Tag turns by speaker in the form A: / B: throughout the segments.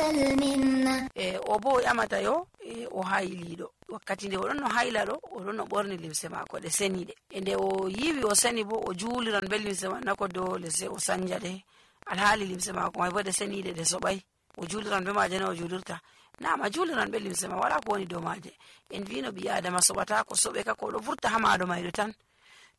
A: المنة.
B: o bo o ƴamata yo o hayliɗo wakkati nde oɗon no hayla ɗo oɗon no ɓorni limse mako ɗe seniɗe. Nde o yiwi o seni bo o juliran be limse man nako dole sai o sanja ɗe, alhaali limse mako may bo ɗe seniɗe ɗe soɓay. O juliran be maje na o julirta? Na'am, a juliran be limse ma, wala ko woni dow maje. En vino ɓi adama soɓata ko soɓe ka ko ɗo vurta ha maɗo mayɗo tan.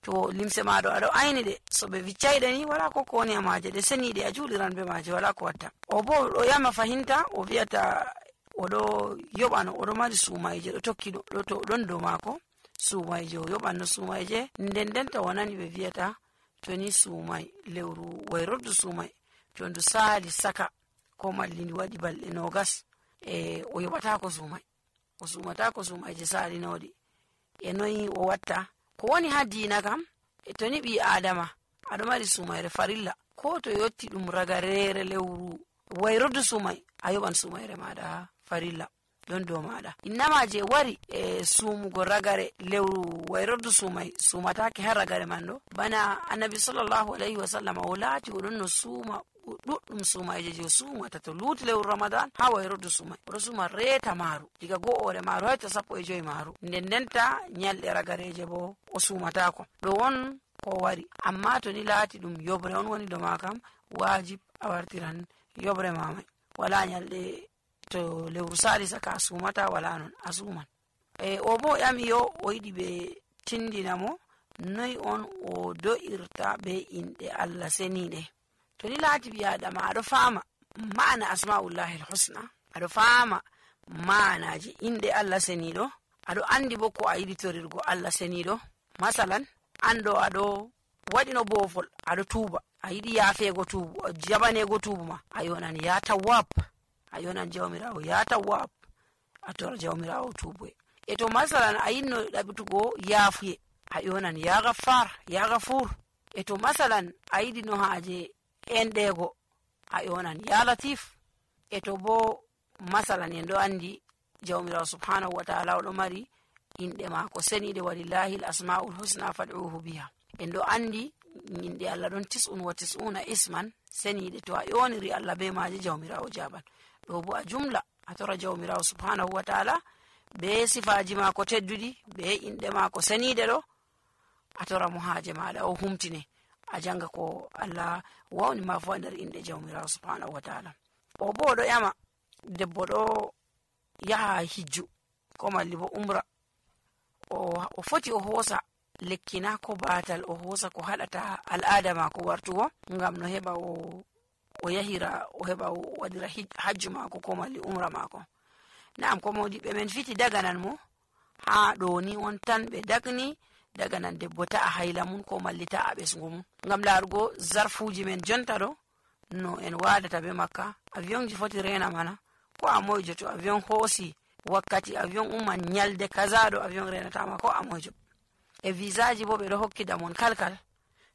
B: To limse maɗo aɗo ayni ɗe so ɓe viccayɗe ni wala ko woni ha maje, ɗe seniɗe, a juliran be maje, wala ko watta. O bo ɗo yama fahinta o wi'ata oɗo yoɓano, oɗo mari sumayje ɗo tokki ɗon dow mako, sumayje o yoɓanno sumayje. Nden o nani ɓe wi'ata to ni sumay lewru wayrordu sumay to ndu sali saka ko malli ndi waɗi balɗe 20 o yoɓatako sumay, o sumatako sumayje salinoɗi. E noyi o watta? Ko woni ha diina kam, to ni ɓi adama aɗo mari sumayre farilla, ko to yotti ɗum ragarere lewru wayrordu sumay a yoɓan sumayre maɗa farilla ɗon dow maɗa. Innama je wari sumugo ragare lewru wayrordu sumay sumatake ha ragare man ɗo, bana annabi sallallahu alaihi wasallam o laati oɗon no suma ɗuɗɗum sumayje je sumata to luti lewru ramadan ha wayrordu sumay, oɗo suma reeta maru diga go'ore maru hayto 15 maru. Ndenta nyalɗe ragareje bo o sumatako. ɗo won ko wari. Amma to ni laati ɗum yobre on woni doma kam, wajib a wartiran yobre mamay, wala nyalɗe. To lewru sali saka a sumata, wala non a suman. O bo ƴami yo o yiɗi ɓe tindina mo noy on o do'irta be inɗe Allah seniɗe. To ni laati ɓi adama aɗo fama ma'ana asma'ullahi al-husna, aɗo fama ma'anaji inɗe Allah seniɗo, aɗo andi bo ko a yiɗi torirgo Allah seniɗo. Masalan, ando aɗo waɗino bofol aɗo tuuba, a yiɗi yafego tuubu, jabanego tuubu ma, a yonan ya tawwab, a yonan jawmirawo ya tawwab, a tora jawmirawo tuubuye. To masalan a yinno ɗaɓitugo yafuye, a yonan ya gaffar, ya gafur. To masalan a yiɗi no haje enɗego, a yonan ya latif. To bo masalan en ɗo andi jawmirawo subhanahu wa ta'ala oɗo mari inɗe mako seniɗe, walillahi al-asma'ul husna fad'uhu biha. En ɗo andi inɗe Allah ɗon 99 isman seniɗe, to a yoniri Allah be maje jawmirawo jaban. ɗo bo a jumla a tora jawmirawo subhanahu wa ta'ala be sifaji mako tedduɗi be inɗe mako seniɗe ɗo, a tora mo haje maɗa o humtine, a janga ko Allah wawni ma fu nder inɗe jawmirawo subhanahu wa ta'ala. O bo ɗo ƴama debbo ɗo yaha hijju ko malli bo umra, o foti o hosa lekkina ko batal, o hosa ko haɗata al'ada mako wartugo ngam no heɓa o yahira, o heɓa o waɗira hajju mako ko malli umra mako. Na'am, ko modiɓe men fiti daganan mo ha ɗo ni on tan ɓe dagni daganan debbo ta'a hayla mun ko malli ta'a ɓesgu mun, ngam larugo zarfuji men jonta ɗo no en wadata be makka. Avion ji foti rena mana, ko a moyjo to avion hosi wakkati avion umman nyalde kaza ɗo avion renatama ko a moyjo. Visa ji bo ɓe ɗo hokkida mon kalkal,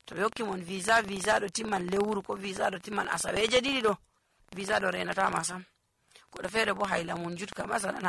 B: to ɓe hokki mon visa ɗo timman lewru ko visa ɗo timman asaweje ɗiɗi ɗo, visa ɗo renatama sam. Goɗɗo fere bo hayla mun jutka, masalan